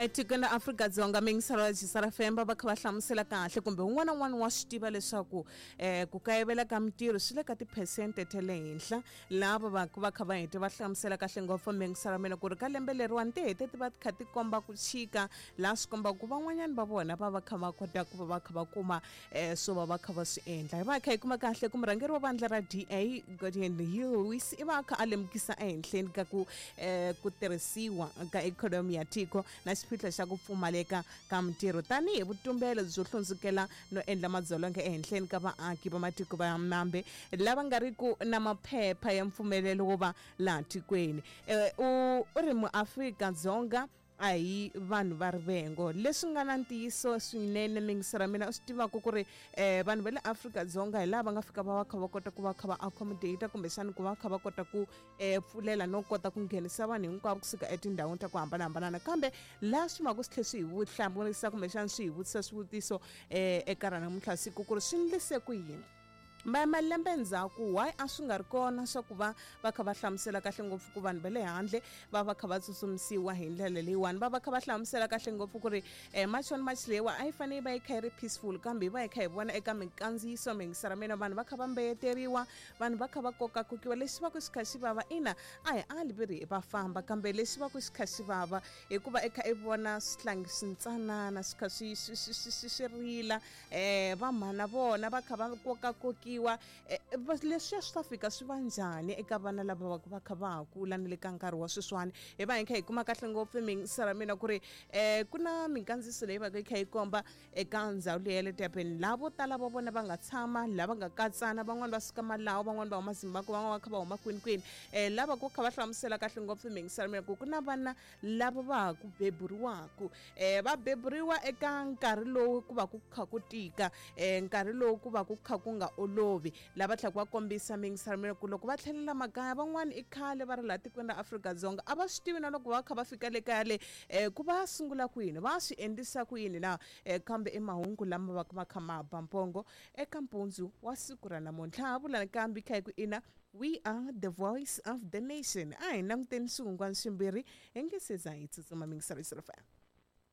Etikweni ra Afrika-Dzonga mingiselo femba va kha va hlamusela kahle kumbe un'wana na un'wana wa swi tiva leswaku ku kayivela ka mintirho swi le ka tiphesente ta le henhla. Lava va va kha va hete va hlamusela kahle ngopfu mingiselo mina ku ri ka lembe leriwani ti hete ti va ti kha ti komba ku chika, laha swi kombaka ku van'wanyana va vona va va kha va kota ku va va kha va kuma swo va va kha va swi endla. Hi va hi kha hi kuma kahle ku murhangeri wa vandla ra DA Geordin Hill-Lewis i va a kha a lemukisa ehenhleni ka ku ku tirhisiwa ka ikhonomi ya tiko na xiphiqo xa ku pfumaleka ka mintirho tanihi vutumbelo byo hlundzukela no endla madzolonga ehenhleni ka vaaki va matiko va mambe lava nga ri ku na maphepha ya mpfumelelo wo va laha tikweni. U ri muAfrika-Dzonga a hi vanhu va rivengo. Leswi nga na ntiyiso swinene mingiso ra mina u swi tivaka ku ri vanhu va le Afrika-Dzonga hi laha va nga fika va va kha va kota ku va kha va accommodate kumbexana ku va kha va kota ku pfulela no kota ku nghenisa vanhu hinkwavo kusuka etindhawini ta ku hambanahambana. Kambe laha swi maka swi tlhe swi hi vuhlamurisa kumbexana swi hi vutisa swivutiso eka ra namuntlha siku ku ri swi ndlise ku yini malembe ndzhaku, why a swi nga ri kona swa ku va va kha va hlamusela kahle ngopfu ku vanhu va le handle va va kha va tsutsumisiwa hi ndlela leyiwani. Va va kha va hlamusela kahle ngopfu ku ri March on March leyiwa a yi fanele yi va yi kha yi ri peaceful, kambe hi va hi kha hi vona eka minkandziyiso mingisera mina vanhu va kha va mbeyeteriwa, vanhu va kha va kokakokiwa. Lexi va ku xi kha xi vava, ina a hi ali vi ri va famba, kambe lexi va ku xi kha xi vava hikuva i kha i vona swihlangi swintsanana swi kha swi swi swi swi swi swi rila, vamhana vona va kha va kokakokiwa. Leswiya swi ta fika swi va njhani eka vana lava va va kha va ha kula ni le ka nkarhi wa sweswiwani? Hi va hi kha hi kuma kahle ngopfu mingisera mina ku ri ku na minkandziyiso leyi va ka yi kha yi komba eka ndhawu leyi ya le Durban, laha vo tala va vona va nga tshama, lava nga katsana, van'wani va suka Malawi, van'wani va huma Zimbabwe, van'wani va kha va huma kwini kwini. Lava ku kha va hlamusela kahle ngopfu mingisera mina ku ku na vana lava va ha ku beburiwaka, va beburiwa eka nkarhi lowu ku va ku kha ku tika, nkarhi lowu ku va ku kha ku nga olovi. Lava tlhaka va kombisa mingisera mina ku loko va tlhelela makaya, van'wani i khale va ri laha tikweni ra Afrika-Dzonga, a va swi tivi na loko va kha va fika le kaya le ku va sungula kwini, va swi endlisa ku yini na. Kambe i mahungu lama va va kha ma ba mpongo eka mpundzu wa siku ra namuntlha. Ha vula nakambe kha hi ku ina, we are the voice of the nation. A hi languteni swihungwani swimbirhi hi nge se za hi tsutsuma mingisero FM.